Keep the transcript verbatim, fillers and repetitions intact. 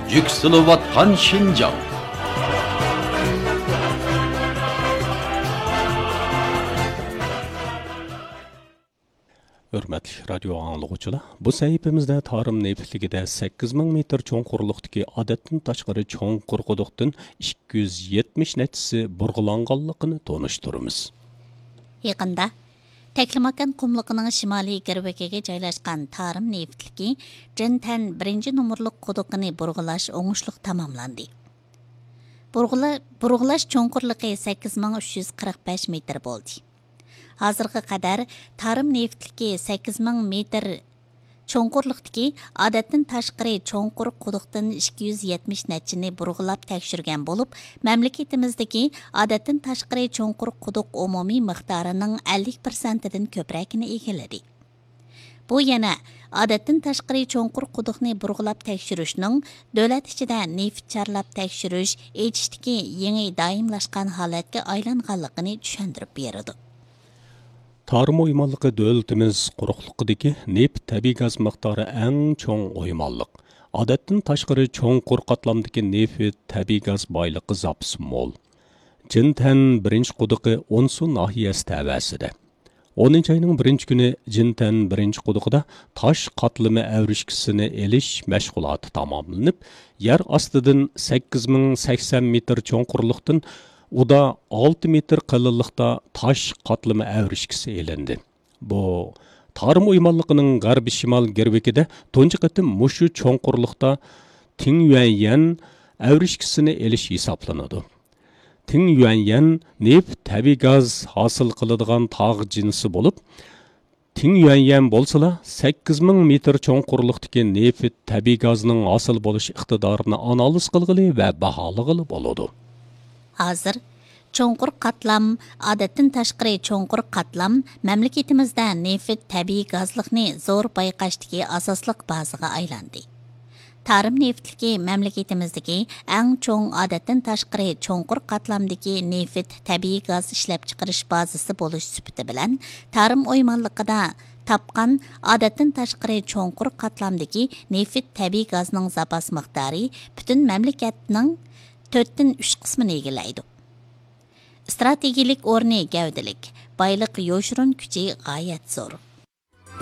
يۈكسىلىۋاتقان شىنجاڭ. ھۆرمەتلىك رادىيو ئاڭلىغۇچىلار، بۇ سەھىپىمىزدە تارىم نېفىتلىكىدە سەككىز مىڭ مېتىر چوڭقۇرلۇقتىكى ئادەتتىن تاشقىرى چوڭقۇر قۇدۇقتىن ئىككى يۈز يەتمىش نەچچىسى بۇرغىلانغانلىقىنى تونۇشتۇرىمىز. يېقىندا تەكلىماكان قۇملۇقىنىڭ شىمالىي گىرۋىكىگە جايلاشقان تارىم نېفىتلىكى جىنتەن بىرىنچى نومۇرلۇق قۇدۇقىنى بۇرغىلاش ئوڭۇشلۇق تاماملاندى. بۇرغىلا-، بۇرغىلاش چوڭقۇرلۇقى سەككىز مىڭ ئۈچ يۈز قىرىق بەش مېتىر بولدى. ھازىرغا قەدەر تارىم نېفىتلىكى سەككىز مىڭ مېتىر چوڭقۇرلۇقتىكى ئادەتتىن تاشقىرى چوڭقۇر قۇدۇقتىن ئىككى يۈز يەتمىش نەچچىنى بۇرغىلاپ تەكشۈرگەن بولۇپ، مەملىكىتىمىزدىكى ئادەتتىن تاشقىرى چوڭقۇر قۇدۇق ئومۇمىي مىقدارىنىڭ ئەللىك پىرسەنتىدىن كۆپرەكىنى ئىگىلىدى. بۇ يەنە ئادەتتىن تاشقىرى چوڭقۇر قۇدۇقنى بۇرغىلاپ تەكشۈرۈشنىڭ دۆلەت ئىچىدە نېفىت چارلاپ تەكشۈرۈش، ئېچىشتىكى يېڭى دائىملاشقان ھالەتكە ئايلانغانلىقىنى چۈشەندۈرۈپ بېرىدۇ. تارىم ئويمانلىقى دۆلىتىمىز قۇرۇقلۇقىدىكى نېفىت تەبىئىي گاز مىقدارى ئەڭ چوڭ ئويمانلىق. ئادەتتىن تاشقىرى چوڭقۇر قاتلامدىكى نېفىت تەبىئىي گاز بايلىقى زاپىسى مول. جىنتەن بىرىنچى قۇدۇقى ئونسۇ ناھىيەسى تەۋەسىدە. ئونىنچى ئاينىڭ بىرىنچى كۈنى جىنتەن بىرىنچى قۇدۇقىدا تاش قاتلىمى ئەۋرىشكىسىنى ئېلىش مەشغۇلاتى تاماملىنىپ، يەر ئاستىدىن سەككىز مىڭ سەكسەن مېتىر چوڭقۇرلۇقتىن ئۇدا ئالتە مېتىر قېلىنلىقتا تاش قاتلىمى ئەۋرىشكىسى ئېلىندى. بۇ تارىم ئويمانلىقىنىڭ غەربىي شىمال گىرۋىكىدە تۇنجى قېتىم مۇشۇ چوڭقۇرلۇقتا تىڭيۈەنيەن ئەۋرىشكىسىنى ئېلىش ھېسابلىنىدۇ. تىڭيۈەنيەن نېفىت تەبىئىي گاز ھاسىل قىلىدىغان تاغ جىنسى بولۇپ، تىڭيۈەنيەن بولسىلا سەككىز مىڭ مېتىر چوڭقۇرلۇقتىكى نېفىت تەبىئىي گازنىڭ ھاسىل بولۇش ئىقتىدارىنى ئانالىز قىلغىلى ۋە باھالىغىلى بولىدۇ. ھازىر چوڭقۇر قاتلام، ئادەتتىن تاشقىرى چوڭقۇر قاتلام مەملىكىتىمىزدە نېفىت تەبىئىي گازلىقنى زور بايقاشتىكى ئاساسلىق بازىغا ئايلاندى. تارىم نېفىتلىكى مەملىكىتىمىزدىكى ئەڭ چوڭ، ئادەتتىن تاشقىرى چوڭقۇر قاتلامدىكى نېفىت تەبىئىي گاز ئىشلەپچىقىرىش بازىسى بولۇش سۈپىتى بىلەن، تارىم ئويمانلىقىدا تاپقان ئادەتتىن تاشقىرى چوڭقۇر قاتلامدىكى نېفىت تەبىئىي گازنىڭ زاپاس مىقدارى پۈتۈن مەملىكەتنىڭ تۆتتىن ئۈچ قىسمىنى ئىگىلەيدۇ. ئىستراتېگىيىلىك ئورنى گەۋدىلىك، بايلىق يوشۇرۇن كۈچى غايەت زور.